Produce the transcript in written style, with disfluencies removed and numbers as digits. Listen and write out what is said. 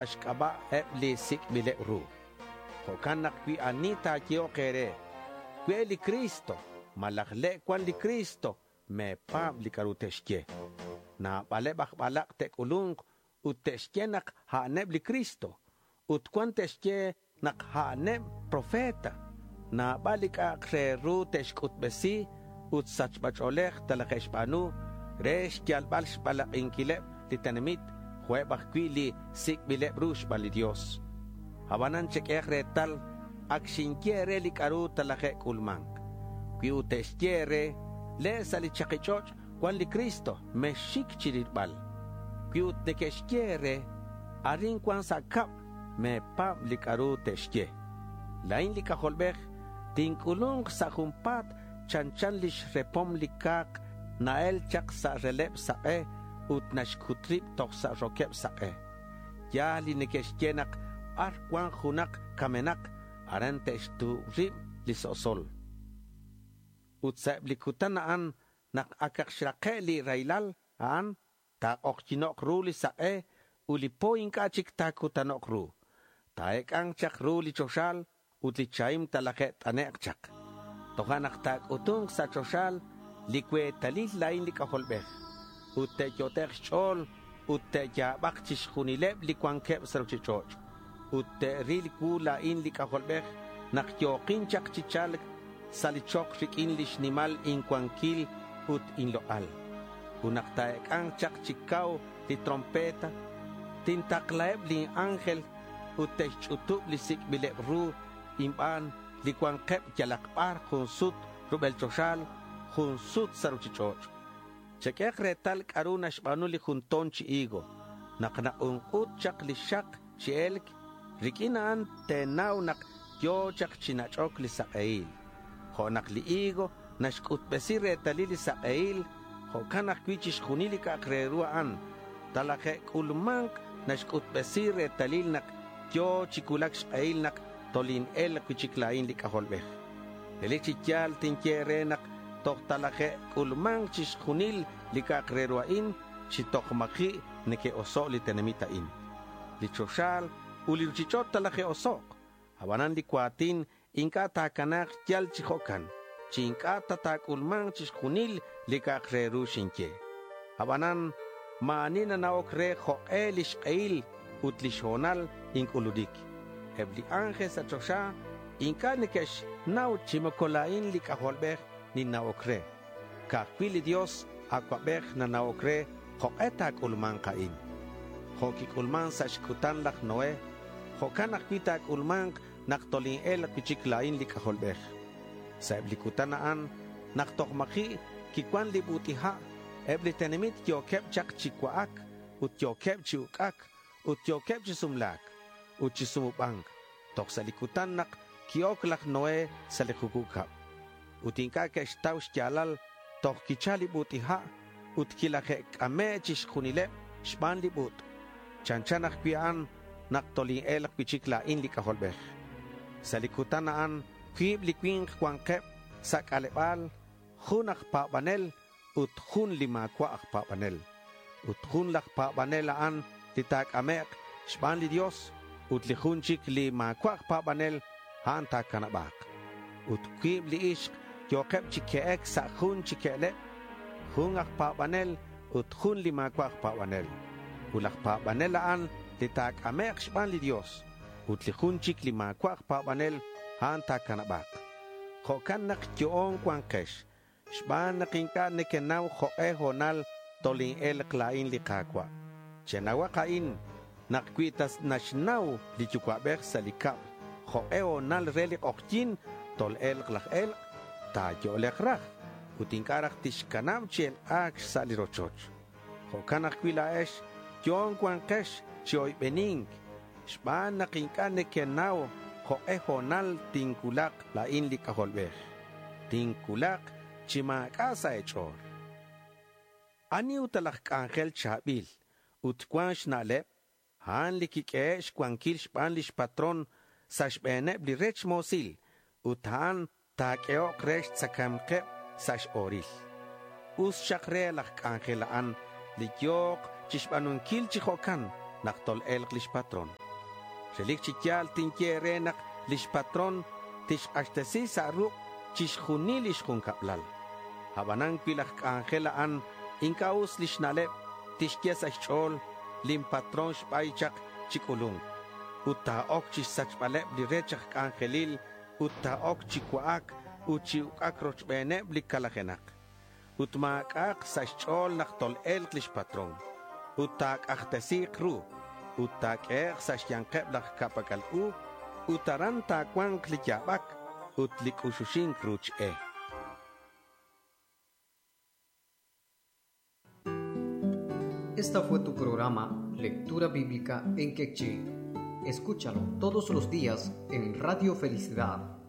Xk'ab'a' eb' li sik'b'ileb' ru. Jo'kan naq cui ani ta̱yehok e̱re, “Cue' li Cristo,” malaj “Le' cuan li Cristo,” me̱pa̱b li c'a'ru te'xye. Nabaleb aj balak' te'c'ulu̱nk ut te'xye nak a'aneb li Cristo. Ut cuan te'xye nak a'aneb profeta. Nabal li c'a'ak re ru te'xc'utbesi ut sachba ch'o̱lej talaje'xba̱nu re xyalbal xbalak'inquileb li tenamit jo' eb ajcui' li sic'bileb ru xban li Dios. Abanan cheq'uehak retal, ac xinye e̱re li c'a'ru talaje'c'ulma̱nk. Cui ut te'xye e̱re, “Le' sa' li chaki ch'och' cuan li Cristo,” mexxic chirilbal. Cui ut neque'xye e̱re, “Arin cuan sa' cab,” me̱pa̱b li c'a'ru te'xye. La̱in li C'ajolbej tinc'ulu̱nk sa' junpa̱t chanchan lix repom li ca̱k na-el chak sa' releb sak'e ut naxcut rib toj sa' roqueb sak'e. Ya̱l li neque'xye nak bar cuan junak camenak, aran te'xtuub rib li so'sol. Ut sa' eb li cutan a'an, nak acak xrake' li raylal a'an, ta̱k'ojyi̱nok ru li sak'e ut li po inc'a' chic ta̱cutanok ru. Ta̱ec'a̱nk chak ru li choxa ut li chahim talaje't'anek' chak. Tojo'nak ta̱c'utu̱nk sa' choxa li cuetalil la̱in li C'ajolbej. Ut te'yot'ek' xch'o̱l ut te'ya̱bak chixjunileb li cuanqueb sa' ruchich'och'. Ut te'ril cuu la̱in li C'ajolbej nak yo̱kin chak chi cha̱lc sa' li chok riq'uin lix nimal incuanquil ut inlok'al. Ut nak ta̱ec'a̱nk chak chi cau li trompeta, tintaklaheb lin ángel ut te'xch'utub li sic'bileb ru inban li cuanqueb yalak bar jun sut rubel choxa, jun sut sa' ruchich'och'. Cheq'uehak retal c'a'ru naxba̱nu li jun to̱n chi higo. Nak nak'unk'ut chak li xak chi e̱lc, riq'uin a'an te̱nau nak yo̱ chak chi nach'oc li sak'ehil. Jo' nak li higo naxc'utbesi retalil li sak'ehil, jo'can ajcui' chixjunil li c'a'ak re ru a'an talaje'c'ulma̱nk naxc'utbesi retalil nak yo̱ chi cuulac xk'ehil nak toline̱lk cui'chic la̱in li C'ajolbej. Relic chi ya̱l tinye e̱re nak toj talaje'c'ulma̱nk chixjunil li c'a'ak re ru a'in chi toj ma̱ji' neque'oso' li tenamit a'in. Li choxa ut li ruchich'och' talaje'osok'. Abanan li cua̱tin inc'a' ta̱cana̱k yal chi jo'can, chi inc'a' ta ta̱c'ulma̱nk chixjunil li c'a'ak re ru xinye. Abanan ma̱ ani nana'oc re jok'e lix k'ehil ut lix ho̱nal inc'ulunic. Eb li ángel sa' choxa inc'a' neque'xnau chi moco la̱in li C'ajolbej ninna'oc re. Ca'aj cui' li Dios Acuabej nana'oc re jok'e ta̱c'ulma̱nk a'in. Jo' quic'ulman sa' xcutan laj Noé, jo'can ajcui' ta̱c'ulma̱nk nak toline̱lk cui'chic la̱in li C'ajolbej. Sa' eb li cutan a'an, nak toj ma̱ji' quicuan li but'i ha', eb li tenamit yo̱queb chak chi cua'ac ut yo̱queb chi uc'ac ut yo̱queb chi sumla̱c ut chi sumuba̱nc toj sa' li cutan nak qui-oc laj Noé sa' li jucub cab. Ut inc'a' que'xtau xya̱lal toj quichal li but'i ha' ut quilaje'c'ame' chixjunileb xban li but'. Chanchan ajcui' a'an nak toline̱lk cui'chic la̱in li C'ajolbej. Sa' li cutan a'an cuib li cui̱nk cua̱nkeb sa' c'aleba̱l, jun aj pa̱banel ut jun li ma̱cua' aj pa̱banel. Ut jun laj pa̱banel a'an li ta̱c'amek' xban li Dios ut li jun chic li ma̱cua' aj pa̱banel a'an ta̱canaba̱k. Ut cuib li ixk yo̱keb chi que'ec sa' jun chi que'leb, jun aj pa̱banel ut jun li ma̱cua' aj pa̱banel. Ut laj pa̱banel a'an li ta̱c'amek' xban li Dios ut li jun chic li ma̱cua' aj pa̱banel a'an ta̱canaba̱k. Jo'can nak yo'on cuankex xban nak inc'a' nequenau jok'e ho̱nal toline̱lk la̱in li Ka̱cua'. Chenauhak a'in nak cui ta naxnau li yucua'bej sa' li cab jok'e ho̱nal re li k'ojyi̱n tol-e̱lk laj e̱lk', ta̱yo'lek raj ut inc'a' raj tixcanab chi elk'a̱c xsa' li rochoch. Jo'can ajcui' la̱ex yo'on cuankex chi oybeni̱nc xban nak inc'a' nequenau jok'e ho̱nal tincuulak la̱in li C'ajolbej. Tincuulak chi ma̱c'a' sa' e̱ch'o̱l. Ani ut laj c'anjel cha̱bil ut cuan xna'leb, a'an li quiq'uehe' xcuanquil xban lix patrón sa' xbe̱neb li rech mo̱sil ut a'an ta̱q'uehok re xtzacae̱mkeb sa' x-o̱ril. Us xak re laj c'anjel a'an li yo̱k chixba̱nunquil chi jo'can nak tol-e̱lk lix patrón. Relic chi ya̱l tinye e̱re nak lix patrón tixk'axtesi sa' ruk' chixjunil lix jun cablal. Abanan cui laj c'anjel a'an inc'a' us lix na'leb, tixye sa' xch'o̱l, lin patrón xbay chak chi c'ulu̱nc. Ut ta̱oc chixsachbaleb li rech aj c'anjelil ut ta̱oc chi cua'ac ut chi uc'ac rochbeneb li calajenak. Ut ma̱c'a'ak sa' xch'o̱l nak tol-e̱lk lix patrón. Ut ta̱c'ajtesi̱k ru ut ta̱q'uehek' sa' xya̱nkeb laj ca'pac'al u ut aran ta̱cua̱nk li ya̱bac ut li c'uxuxi̱nc ruch e. Esta fue tu programa Lectura Bíblica en Quechí. Escúchalo todos los días en Radio Felicidad.